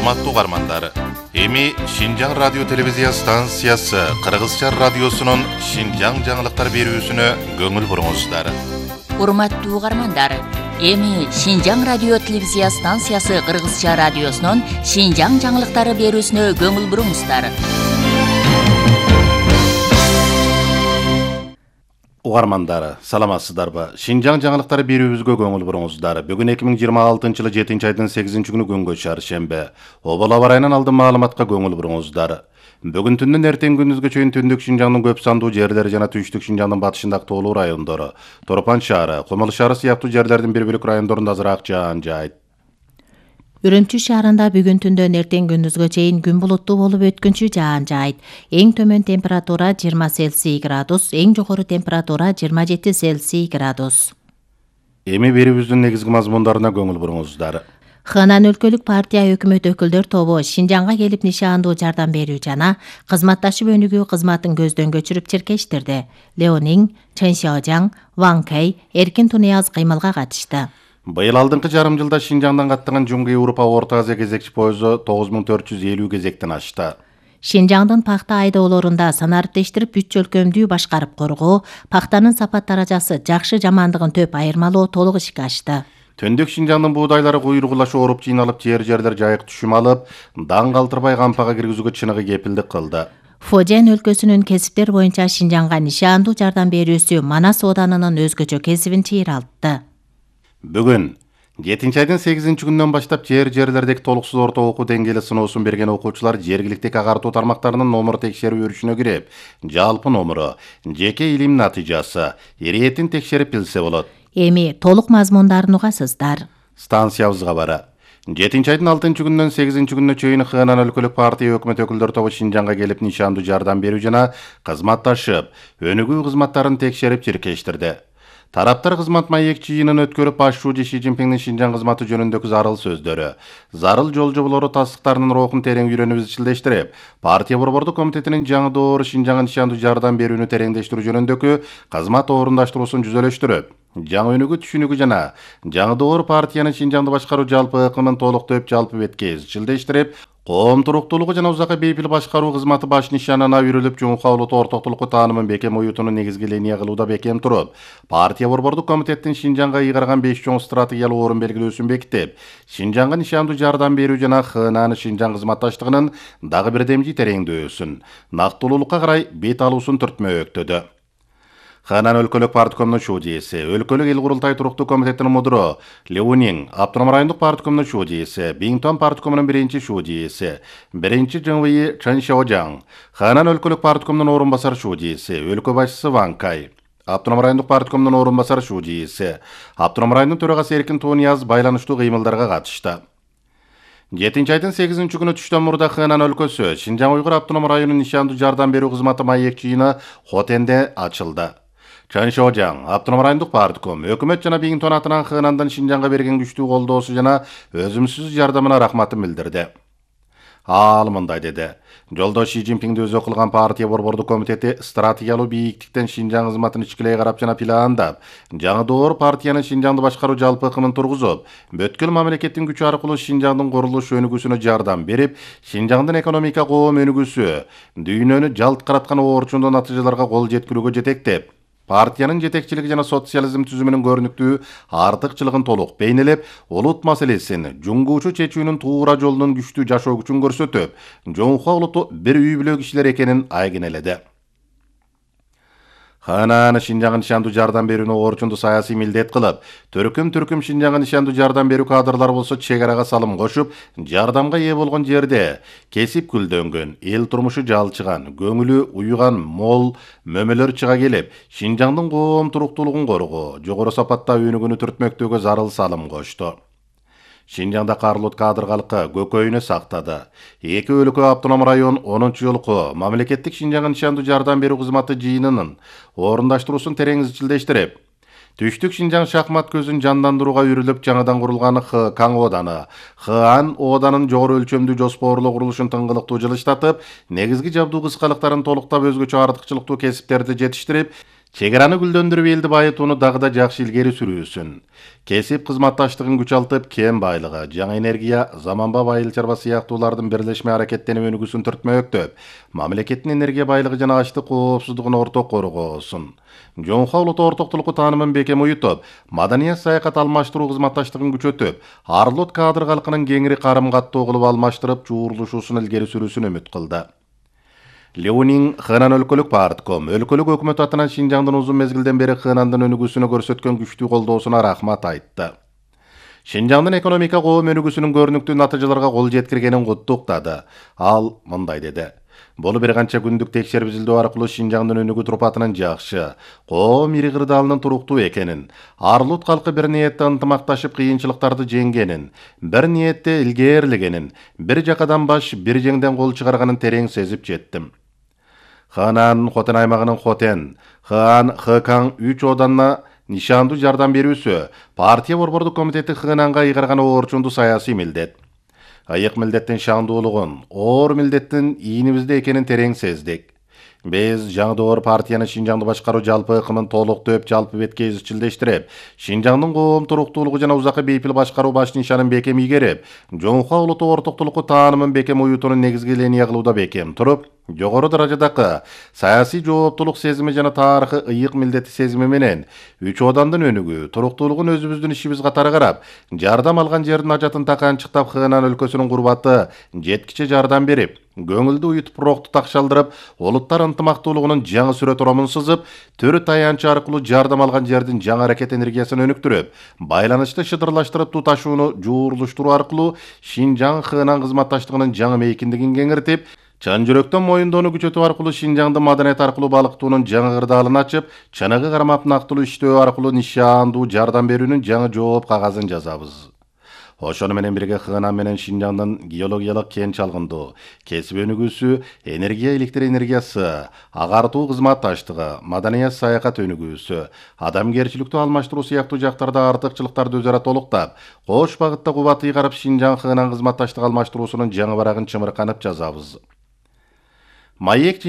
Урматтуу угармандар, эми Шинжаң радио телевизия станциясы Кыргызча радиосунун Шинжаң жаңылыктар берүүсүнө көңүл буруңуздар. Урматтуу угармандар, эми Шинжаң радио телевизия станциясы Кыргызча радиосунун Шинжаң жаңылыктары берүүсүнө көңүл буруңуздар. Угармандар, саламатсыздарбы? Шинжаң жаңылыктары берүүбүзгө көңүл буруңуздар. Бүгүн 2026-жылы 7-айдын 8-күнү күнгө чаршембе. Обол аба ырайынан алдын маалыматка көңүл буруңуздар. Бүгүн түндөн эртең күндүзгө чейин түндүк Шинжаңдын көп сандуу жерлери жана түштүк Шинжаңдын батышындагы тоолуу райондору, Торпан шаары, Кумул шаары сыяктуу жерлердин бир бөлүк райондорунда азыраак жаан жаайт. Үрүмчү шаарында бүгүн түндөн эртең күндүзгө чейин күн булуттуу болуп өткүнчү жаан жаайт. Эң төмөн температура 20 Цельсий градус, эң жогору температура 27 Цельсий градус. Эми берүүбүздүн негизги мазмундарына көңүл буруңуздар. Ханан өлкөлүк партия өкмөт өкүлдөр тобу Шинжаңга келип нишандуу жардам берүү жана кызматташып өнүгүү кызматын көздөн көчүрүп чиркештирди. Леонин, Чен Шаожаң, Ван Кэй эркин Тунаяз кыймылга катышты. Быйыл алдыңкы жарым жылда Шинжаңдан каттаган Жумгу Европа Орто Азия кезекчи поезу 9450 кезектен ашты. Шинжаңдын пахта айдоолорунда санариптештирип 3 өлкөмдүү башкарып коргоо, пахтанын сапат даражасы жакшы жамандыгын төп айырмалоо толук ишке ашты. Түндүк Шинжаңдын буудайлары куйругулашы ооруп жыйналып, жерлер жайык түшүм алып, даң калтырбай кампага киргизүүгө чыныгы кепилдик кылды. Фожен өлкөсүнүн кесиптер боюнча Шинжаңга нишандуу жардам берүүсү Манас Оданынын өзгөчө кесибин чыйралтты. Бүгүн 7-айдын 8-күнүнөн баштап жерлердеги толуксуз орто окуу деңгээли сыноосун берген окуучулар жергиликтик агартуу тармактарынын номер текшерүү өрүшүнө кирип, жалпы номеру, жеке илим натыйжасы, иретин текшерип билсе болот. Эми толук мазмундарын угасыздар. Станциябызга бара. 7-айдын 6-күнүнөн 8-күнүнө чейин Ханан өлкөлүк партия өкмөт өкүлдөр тобу Шинжаңга келип нишандуу жардам берүү жана кызматташып, өнүгүү кызматтарын текшерип чиркештирди. Тараптар кызмат маек жыйынын өткөрүп, башчуу Ши Цзиньпиндин Шинжаң кызматы жөнүндөгү зарыл сөздөрү, зарыл жол жоболору тастыктарынын рухун терең үйрөнүп изчилдештирип, партия борбордук комитетинин жаңы доору Шинжаңга нишандуу жардам берүүнү тереңдештирүү жөнүндөгү кызмат орундаштыруусун жүзөлөштүрүп, жаңы өнүгүү түшүнүгү жана жаңы доор партиянын Шинжаңды башкаруу жалпы ыкымын толуктоп жалпы бетке изчилдештирип, коом туруктуулугу жана узакка бейпил башкаруу кызматы баш нишанына үйрүлүп, жуңка улуттуу ортоктулукку таанымын бекем уютууну негизги линия кылууда бекем туруп, партия борбордук комитеттин Шинжаңга ыйгарган 5 чоң стратегиялык орун белгилөөсүн бекитип, Шинжаңга нишандуу жардам берүү жана Ханан Шинжаң кызматташтыгынын дагы бир демжи тереңдөөсүн, нактылуулукка карай бет алуусун түртмөктөдү. Ханан өлкөлүк парткомунун шуудиеси, өлкөлүк эл курултай туруктуу комитетинин мудуру Леонин, Автоном райондук парткомунун шуудиеси, Биңтон парткомунун биринчи шуудиеси, биринчи ЖМВИ Чен Шаожаң, Ханан өлкөлүк парткомунун орун басар шуудиеси, өлкө башчысы Ван Кэй, Автоном райондук парткомунун орун басар шуудиеси, Автоном районунун төрагасы Эркин Тунаяз байланыштуу кыймылдарга катышты. 7-айдын 8-күнү түштөн мурда Ханан өлкөсү Шинжаң Уйгур автоном районунун нишандуу жардам берүү кызматы маек жыйыны Хотенде ачылды. Чен Шаожаң, Автоном райондук партком, өкмөт жана Биңтон атынан Ханандан Шинжаңга берген күчтүү колдоосу жана өзүмсүз жардамына рахматын билдирди. Ал мындай деди: Жолдо Ши Цзиньпинди өзү кылган партия борбордук комитети стратегиялуу бийиктиктен Шинжаң кызматын ичкилей карап жана пландап, жаңы доор партиянын Шинжаңды башкаруу жалпы ыкымын тургузуп, бүткүл мамлекеттин күчү аркылуу Шинжаңдын курулуш өнүгүүсүнө жардам берип, Шинжаңдын экономика коом өнүгүүсү, дүйнөнү жалт караткан оорчундуу натыйжаларга кол жеткирүүгө жетектеп, партиянын жетекчилиги жана социализм түзүмүнүн көрүнүктүү артыкчылыгын толук бейнелеп, улут маселесин жуңгуучу чечүүнүн туура жолунун күчтүү жашоо күчүн көрсөтүп, жоңкуа улуту бир үй бүлө кишилер экенин айгинеледи. Ханан Шинжаңга нишандуу жардам берүүнү орчундуу саясий милдет кылып, түркүм Шинжаңга нишандуу жардам берүү кадрлар болсо чек арага салым кошуп, жардамга ээ болгон жерде кесип гүлдөнгөн, эл турмушу жалчыган, көңүлү уюган мол мөмөлөр чыга келип, Шинжаңдын коом туруктуулугун коргоо, жогору сапатта өнүгүүнү түртмөктөөгө зарыл салым кошту. Шинжаңда карлут кадыргалыкка көкөйүнө сактады. Эки өлкө автоном район 10-жолку мамлекеттик Шинжаңга нишандуу жардам берүү кызматы жыйынынын орундаштыруусун терең изчилдештирип, түштүк Шинжаң шахмат көзүн жандандырууга үйрүлүп жаңыдан курулган Каң Оданы, Хан Оданын жогору өлчөмдүү жоспорлуу курулушун тыңгылыктуу жылыштатып, негизги жабдуу кыскалыктарын толуктап өзгөчө артыкчылыктуу кесиптерди жетиштирип, Чегараны гүлдөндүрүп элди байытууну дагы да жакшы илгери сүрүүсүн. Кесип кызматташтыгын күч алтып, кен байлыгы, жаңы энергия, заманбап айыл чарба сыяктуулардын бирлешме аракеттенип өнүгүүсүн түртмөктөп, мамлекеттин энергия байлыгы жана ачлык коопсуздугун орток коргоосун. Жоңхо улуттуу ортоктулуку таанымын бекем уютуп, маданият саякат алмаштыруу кызматташтыгын күчөтүп, арлот кадр калкынын кеңири карым каттоо кылып алмаштырып, чуурлушуусун илгери сүрүүсүн үмүт кылды. Леонин Хынан өлкөлүк партком өлкөлүк өкмөт атынан Шинжаңдын узун мезгилден бери Хынандын өнүгүүсүнө көрсөткөн күчтүү колдоосуна рахмат айтты. Шинжаңдын экономика коом өнүгүүсүнүн көрүнүктүү натыйжаларга кол жеткиргенин куттуктады. Ал мындай деди: "Бул бир канча күндүк текшерип изилдөө аркылуу Шинжаңдын өнүгүү турпатынын жакшы, коом ири кырдаалынын туруктуу экенин, арлут калкы бир ниетте ынтымакташып кыйынчылыктарды жеңгенин, бир ниетте илгээрлегенин, бир жакадан баш, бир жеңден кол чыгарганын терең сезип жеттим. Хынан Хотен аймагынын Хотен, Хан Хэкан 3 оданына нишандуу жардам берүүсү партия борбордук комитети Хынанга ыйгарган орчунду саясий милдет. Айык милдеттин шаандуулугун, оор милдеттин ийинибизде экенин терең сездик. Биз жаңдоор партияны Шинжаңды башкаруу жалпы ыкымын толуктоп, жалпы бетке изчилдештирип, Шинжаңдын коом туруктуулугу жана узакка бейпил башкаруу баш нишанын бекем ийгерип, жоңхо улуттуу ортоктулукту таанымын бекем уютуунун негизги линия кылууда бекем туруп, жогору даражадагы саясий жооптулук сезими жана тарыхы ыйык милдети сезими менен 3 одандын өнүгүү, туруктуулугун өзүбүздүн ишибиз катары карап, жардам алган жердин ажатын таканчыктап Хынан өлкөсүнүн курбаты жеткиче жардам берип, көңүлдү уютуп, рокту такшалдырып, улуттар ынтымактуулугунун жаңы сүрө турамын сызып, төрү таянчы аркылуу жардам алган жердин жаңы аракет энергиясын өнүктүрүп, байланышты шыдырлаштырып, туташууну жуурлуштуруу аркылуу Шинжаң Хынан кызматташтыгынын жаңы мейкиндигин кеңиртип, чын жүрөктөн моюндоону күчөтүү аркылуу Шинжаңды маданият аркылуу балыктоонун жаңы кырдаалын ачып, чыныгы кармап нактылуу иштөө аркылуу нишаандуу жардам берүүнүн жаңы жооп кагазын жазабыз. Ошону менен бирге Хынан менен Шинжаңдын геологиялык кен чалгындоо, кесип өнүгүүсү, энергия электр энергиясы, агартуу кызматташтыгы, маданият саякат өнүгүүсү, адамгерчиликтүү алмаштыруу сыяктуу жактарда артыкчылыктарды өзара толуктап, кош багытта кубат ыйгарып Шинжаң Хынан кызматташтык алмаштыруусунун жаңы барагын чымырканып жазабыз. Маек